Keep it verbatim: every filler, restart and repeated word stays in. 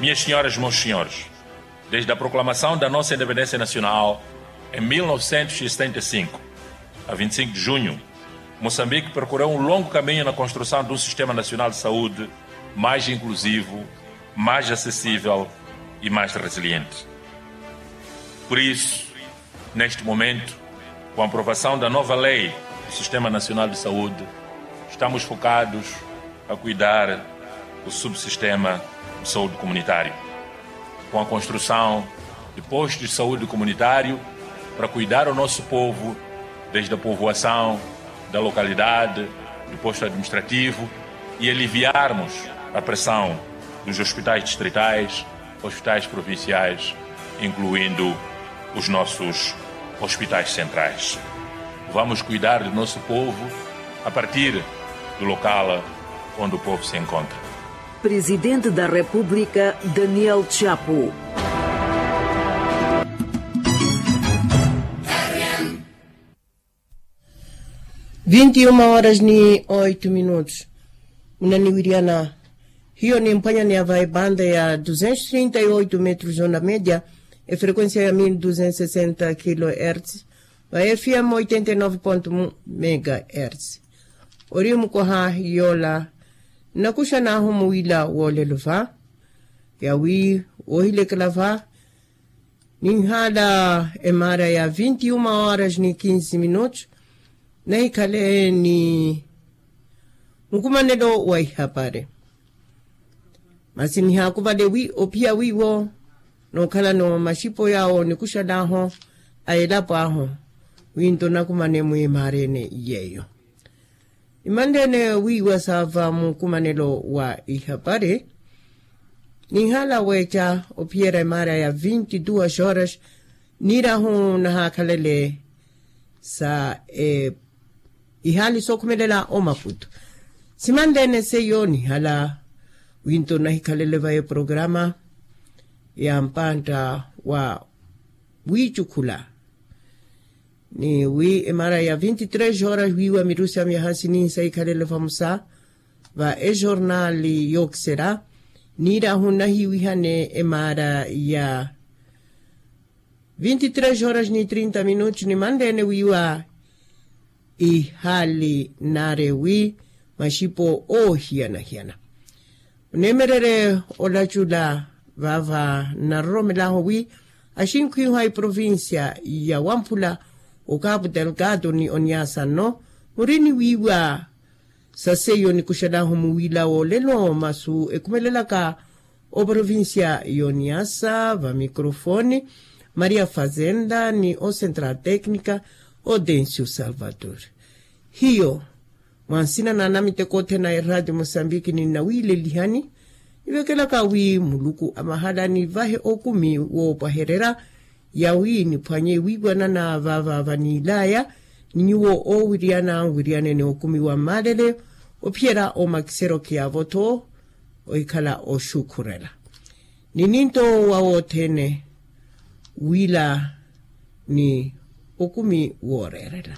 Minhas senhoras e meus senhores, desde a proclamação da nossa independência nacional em mil novecentos e setenta e cinco, a vinte e cinco de junho, Moçambique percorreu um longo caminho na construção de um sistema nacional de saúde mais inclusivo, mais acessível e mais resiliente. Por isso, neste momento, com a aprovação da nova lei do Sistema Nacional de Saúde, estamos focados a cuidar do subsistema de saúde comunitário, com a construção de postos de saúde comunitário para cuidar o nosso povo, desde a povoação, da localidade, do posto administrativo, e aliviarmos a pressão dos hospitais distritais, hospitais provinciais, incluindo os nossos hospitais centrais. Vamos cuidar do nosso povo a partir do local onde o povo se encontra. Presidente da República, Daniel Chapo. Vinte e uma horas ni oito minutos. Munaniwiriyana, hiyo ni mphwanyani ya va ebanda ya duzentos trinta e oito metros onda média, efrequência ya mil duzentos sessenta kilohertz, va F M oitenta e nove ponto um megahertz. Ori mukoha yola, nnakuxan'ahu muwila wolelo va, yawi wohilekela va, ninhala emara ya vinte e uma horas ni quinze minutos, nahikhale ni mukumanelo wa ihapari. Masi nihakuvale wi ophiya wiwo nookhalano maxipo yawo nikuxan'aho a elapo ahu, wi nto nakumane mwimarene yeyo. Imanlene wiiwa saava mukumanelo wa ihapari, ninhala weeca ophiyera emara ya vinte e duas horas, niirahu nahaakhalele sa ihali sookhumelela omaputu. Simanlene seiyo nihala, wi nto nahikhalele va eprograma ya mpantta wa wiicukhula. Ni wi emara ya vinte e três horas wiiwa mirusi ya myaha sinihi sahikhalele vamosa va ejornali yookisera, niirahu nahiwihane emara ya vinte e três horas ni trinta minutos nimanlene wiiwa ihali nari wi maxipo oohiyana-hiyana. Oneemererye olacula vaava nnaroromelahu wi axinkhwihu a eprovincia ya wamphula, okapu delgado ni oniasa nno, muri ni wiiwa sa seiyo nikuxan'ahu muwila wolelo masu ekhumelelaka oprovincia y'oniasa va microfone, maria fazenda ni ocentral tecnica, odencio salvador. Hiyo mwa nsina na anamiteko othene a eradio mosambiki ninnawilelihani, nivekelaka wi muluku amahala nivahe okumi woopwahererya, yawi niphwanye wiiwanana vaava vaniilaya ni nyuwo oowiriyana nwiriyanene okumi wa mmalele, ophiyerya omakisero khiyaavo-tho ohikhala oxukhurela. Ni ninto wa wothene wiila ni okumi wooreerela.